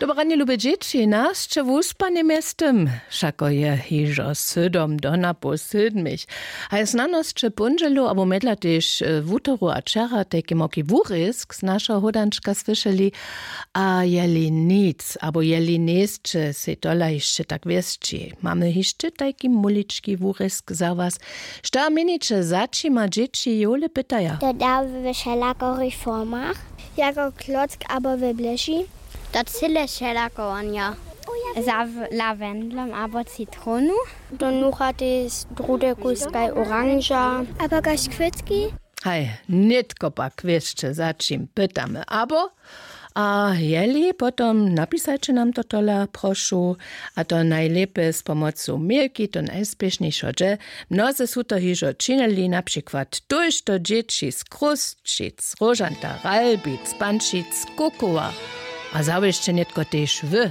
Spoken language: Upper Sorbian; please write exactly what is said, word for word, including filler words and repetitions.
Dobre ranje, lube dźěći, nasće wuspanje mjeztym, wšako je hižo sydom do napoł sydmich. A je znanosće póndźelu abo mjedla tež wutoru a wčera tajki moki wurězk z našeho hódančka słyšeli. A jeli nic abo jeli njejsće sej tola hišće tak wěsći, mamy hišće tajki mulički wurězk za was. Što měniće, za čima dźěći jowle pytaja? To da we wšelakich formach, jako klock abo we bléži. To cyle wšelako wonja. Za w- lavendlom abo citronu. To nuchate z drude kuskaj oranža. Abo kaž kwětki. Haj, nětko pak wěsće, za čim pytamy abo. A jeli, potom napisajće nam to tola, prošu. A to najlěpje z pomocu mailki, to najspěšnjejšo dźe. Mnoze su to hižo činili, na přikład tójšto dźěći z Chrósćic, Róžanta, Ralbic, Pančic, Kukowa. A zawěsće nětko tež wy.